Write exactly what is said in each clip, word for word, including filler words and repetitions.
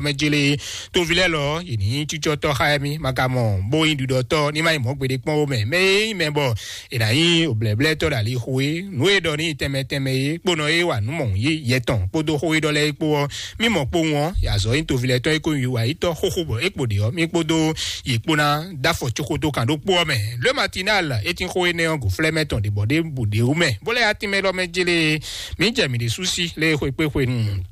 mɛ jele toví lɛ́ɛ lɔ, yě ní nyí cícɔ́tɔ́ xá émí, ma ka mɔ bó nyí ɖiɖɔtɔ́ ní ma nyí mɔ̌ gbeɖé kpɔ́n ó mɛ. Mɛ e nyí mɛ bɔ è nǎ nyí òblɛ̌blɛ́tɔ́ ɖo ali xo é, nǔ e ɖɔ ní tɛnmɛ tɛnmɛ é, kpónɔ é wa nǔ mɔ̌hun yí yɛ tɔn kpódó xó e ɖɔ lɛ́ɛ é kpó ɔ́, mí mɔ kpowun ɔ́, yě azɔ̌ nyí toví lɛ́ɛ tɔn é kó nyí wǎyítɔ́ xóxó bɔ é kpo ɖě ɔ́, mí kpódó yě kpó ná dó afɔ coxódó kan ɖó kpó ɔ́ mɛ. Le Matinal é tín xó énɛ́ ɔ́ gǒflɛ́ mɛ tɔn ɖě bɔ ɖě bu ɖě wú mɛ, bó lɛ́ atínmɛ lɔ mɛ jélé. Mǐ jɛ mǐ ɖésú sí lé xwekpéxwenu.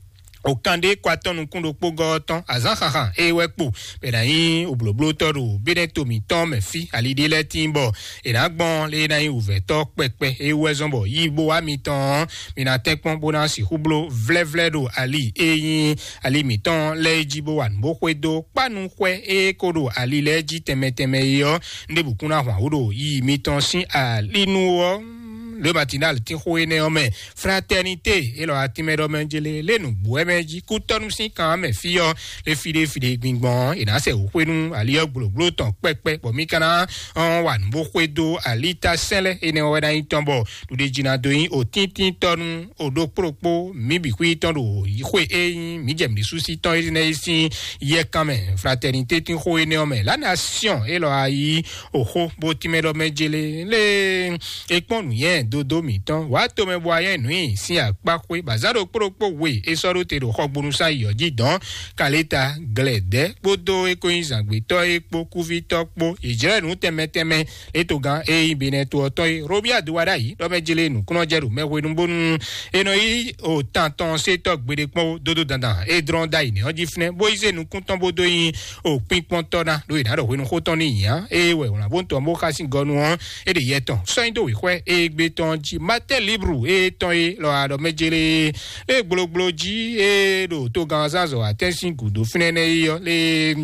O kan ɖé kɔ atɔ́ nukún ɖokpó gɔ́ ɔ́ tɔn azǎn xaxan é wɛ kpo bɛ ná nyí oblǒblótɔ́ ɖo bénɛ́ to mǐtɔn mɛ fí ali ɖé lɛ́ɛ tíin bɔ è nǎ gbɔn lé ná nyí wǔvɛ́tɔ́ kpɛkpɛ é wú wɛ zɔ́n bɔ yí bó wá mitɔn ɔ́, mi ná tɛ́nkpɔ́n bó ná sixú bló vlɛ́vlɛ́ ɖo ali e nyí ali mǐtɔn lɛ́ɛ jí bó wa nǔ bó xwedó kpánu xwɛ e ko ɖo ali lɛ́ɛ jí tɛnmɛ tɛnmɛ é ɔ́, ndébǔ kún ná hwan wǔ ɖo yiyi mitɔn sín ali nu ɔ́. Le Matinal tín xó énɛ́ ɔ́ mɛ, Fraternité élɔ́ atínmɛ ɖɔ mɛ jélé lé nǔgbó wɛ mɛ jí kútɔ́nú sín kan mɛ fí ɔ́, lé fí ɖé fí ɖé gbingbɔn ɔ́, è nǎ sɛ wǔ xwé nú ali ɔ́ gblǒgbló tɔn kpɛkpɛ bɔ mí ka ná ɔ́n wa nǔ bó xwedó alita sɛ́n lɛ́ɛ énɛ́ ɔ́ wɛ ná nyí tɔn bɔ ɖuɖéjínadó nyí òtíntítɔ́ nú òɖokpóɖokpó mǐ bǐ xwí tɔn ɖo xwe e nyí mǐ jɛ mǐ ɖésú sí tɔn énɛ́ é sín yɛkan mɛ. Fraternité tín xó énɛ́ ɔ́ mɛ, la nation élɔ́ a yí òxó bó tínmɛ ɖɔ mɛ jélé lé é kpɔ́n nǔnywɛ́ dodó mǐtɔn wǎ tomɛ bɔ ayɛ nǔ nyi sín akpá xwé bɔ azǎn ɖokpóɖokpó we é sɔ́ ɖó te ɖo xɔgbónúsán yǐyɔ jí dɔn kaléta glɛ̌dɛ́ kpódó é kó nyí zǎngbétɔ́ é kpó kúvítɔ́ kpó yě jlɛ́ nǔ tɛnmɛ tɛnmɛ. Étogán e nyí Benɛto ɔ́ tɔn e Robia do wa ɖ'ayǐ ɖɔ mɛ jele nǔkúnnɔjɛ ɖo mɛ hwenu bónú e nɔ yí o tan tɔn se tɔ́ gbeɖé kpɔ́n dódó dandan e dlɔ́n ɖ'ayǐ nɛ́ ɔ́ jí fínɛ́ bó yi zé nukún tɔn bó dó nyi o kpínkpɔ́ntɔ́ ná ɖo è nǎ ɖɔ hwenu xó tɔn ní nyǐ á. Eye wɛ wlǎn bó tɔn bó xá sín gɔnu ɔ́, é ɖe yɛ tɔn sɔ́ nyi dó wěxwɛ́ e gbé tɔn jí Matɛ́n Libru e tɔn e lɔ aɖɔ mɛ jele e gblogblo jí e ɖo togán zánzɔ atɛ́n sín gǔdo fínɛ́ nɛ́ é ɔ́ lé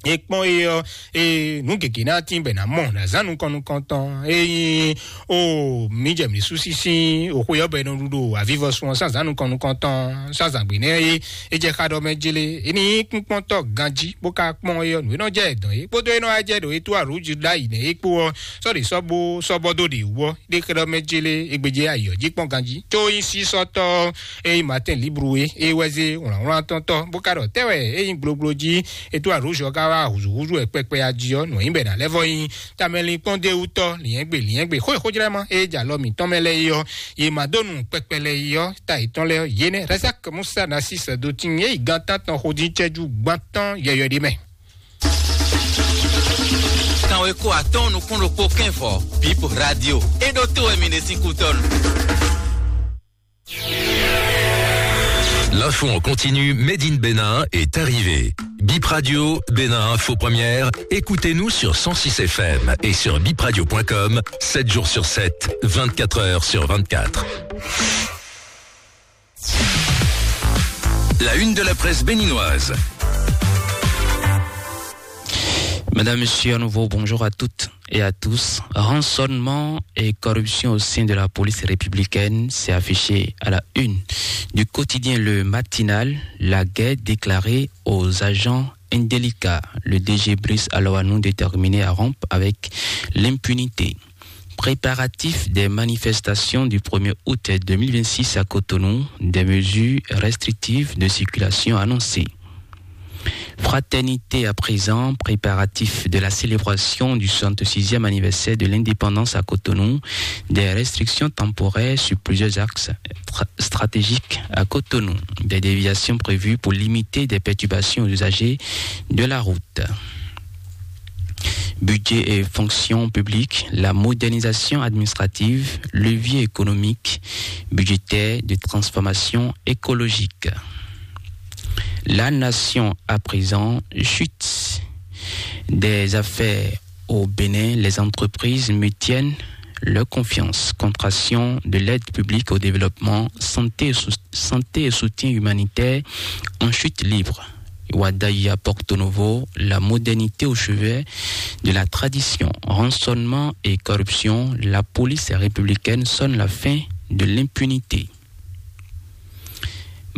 e kpɔ́n é ɔ́, e nǔ gěgé ná tín bɛ ná mɔ ná zán nukɔn nukɔn tɔn e nyí o mǐ jɛ mǐ sú sísí o xwe ɔ́ bɔ è nɔ ɖu ɖo avivɔsun ɔ́ sán zán nukɔn nukɔn tɔn sán zǎngbé nɛ́ é é jɛ xá ɖɔ mɛ jélé é ní nyí kpínkpɔ́ntɔ́ ganjí bó ka kpɔ́n é ɔ́ nǔ e nɔ jɛ dɔn é kpódó é nɔ wá jɛ ɖo é tó arǔ jí ɖ'ayǐ nɛ́ é kpó ɔ́ sɔ́ ɖě sɔ́ bó sɔ́ bɔ dó ɖě wú ɔ́ ɖé xlɛ́ ɖɔ mɛ jélé é gbéjé ayǐ ɔ́ jí kpɔ́n ganjí có nyí sísɔ́tɔ́ é nyí Martin Libru é é wɛ zé wlǎnwlán tɔn tɔ́ bó ka ɖɔ tɛ́ wɛ é nyí gblogblo jí é tó arǔ jí ɔ́ ka wá húzúhúzú wɛ kpɛkpɛ ají ɔ́ nǔ e nyí bɛ ná lɛ́ vɔ nyí tamɛlin kpɔ́n dé wú tɔ́ liɛ́ngbè liɛ́ngbè xó e xójlɛ́mɔ é jɛ alɔ mǐtɔn mɛ lɛ́ɛ é ɔ́ yě ma dó nu kpɛkpɛ lɛ́ɛ é ɔ́ ta yětɔn lɛ́ɛ ɔ́ yě nɛ́ Razak Musa Nasis do tin é yi gan tántɔn xodín cɛ́jú gbán tɔn yɔyɔ ɖé mɛ. Kan we kó atɔ́ɔ́n nukún ɖokpó kɛ́n vɔ Bip Radio é ɖó tó wɛ mi ɖe sín kútɔ́nu. L'info en continu, Made in Bénin est arrivé. Bip Radio, Bénin Info Première, écoutez-nous sur cent six F M et sur bipradio point com, sept jours sur sept, vingt-quatre heures sur vingt-quatre. La une de la presse béninoise. Madame, Monsieur, à nouveau, bonjour à toutes et à tous. Rançonnement et corruption au sein de la police républicaine, c'est affiché à la une du quotidien Le Matinal, la guerre déclarée aux agents indélicats. Le D G Brice Aloanou déterminé à rompre avec l'impunité. Préparatifs des manifestations du premier août deux mille vingt-six à Cotonou, des mesures restrictives de circulation annoncées. Fraternité à présent, préparatifs de la célébration du soixante-sixième anniversaire de l'indépendance à Cotonou, des restrictions temporaires sur plusieurs axes tra- stratégiques à Cotonou, des déviations prévues pour limiter des perturbations aux usagers de la route. Budget et fonction publique, la modernisation administrative, levier économique, budgétaire de transformation écologique. La nation à présent chute des affaires au Bénin. Les entreprises maintiennent leur confiance. Contraction de l'aide publique au développement, santé et, sou- santé et soutien humanitaire en chute libre. Wadaïa Porto Novo, la modernité au chevet de la tradition, rançonnement et corruption, la police républicaine sonne la fin de l'impunité.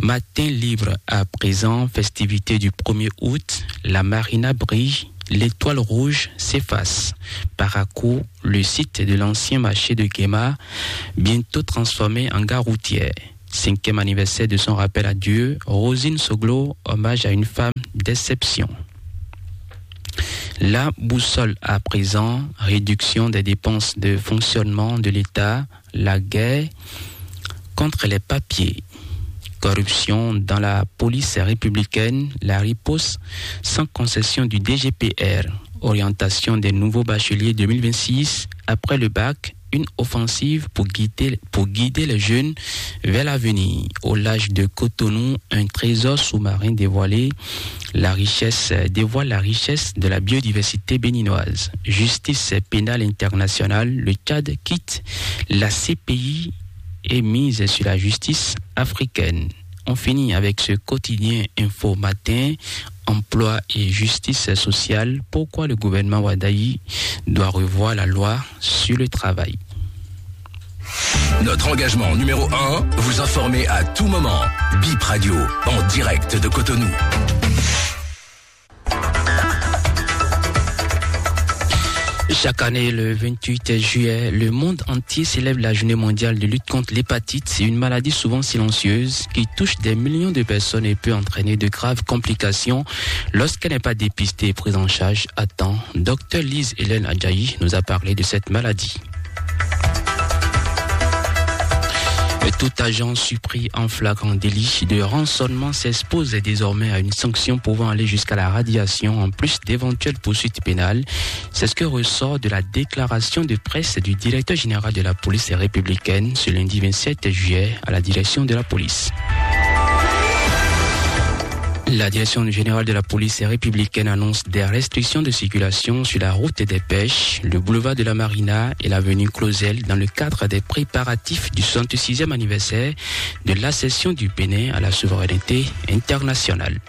Matin libre à présent, festivité du premier août, la marina brille, l'étoile rouge s'efface. Parakou, le site de l'ancien marché de Guéma, bientôt transformé en gare routière. Cinquième anniversaire de son rappel à Dieu, Rosine Soglo, hommage à une femme déception. La boussole à présent, réduction des dépenses de fonctionnement de l'État, la guerre contre les papiers, corruption dans la police républicaine, la riposte sans concession du D G P R, orientation des nouveaux bacheliers deux mille vingt-six après le bac, une offensive pour guider, pour guider les jeunes vers l'avenir. Au large de Cotonou, un trésor sous-marin dévoilé, la richesse, dévoile la richesse de la biodiversité béninoise. Justice pénale internationale, le Tchad quitte la C P I et mise sur la justice africaine. On finit avec ce quotidien Info Matin, emploi et justice sociale. Pourquoi le gouvernement Wadayi doit revoir la loi sur le travail ? Notre engagement numéro un, vous informer à tout moment. Bip Radio, en direct de Cotonou. Chaque année, le vingt-huit juillet, le monde entier célèbre la journée mondiale de lutte contre l'hépatite. C'est une maladie souvent silencieuse qui touche des millions de personnes et peut entraîner de graves complications lorsqu'elle n'est pas dépistée et prise en charge à temps. Docteur Lise Hélène Adjaï nous a parlé de cette maladie. Tout agent surpris en flagrant délit de rançonnement s'expose désormais à une sanction pouvant aller jusqu'à la radiation, en plus d'éventuelles poursuites pénales. C'est ce que ressort de la déclaration de presse du directeur général de la police républicaine ce lundi vingt-sept juillet à la direction de la police. La direction générale de la police républicaine annonce des restrictions de circulation sur la route des Pêches, le boulevard de la Marina et l'avenue Clausel dans le cadre des préparatifs du soixante-sixième anniversaire de l'accession du Bénin à la souveraineté internationale.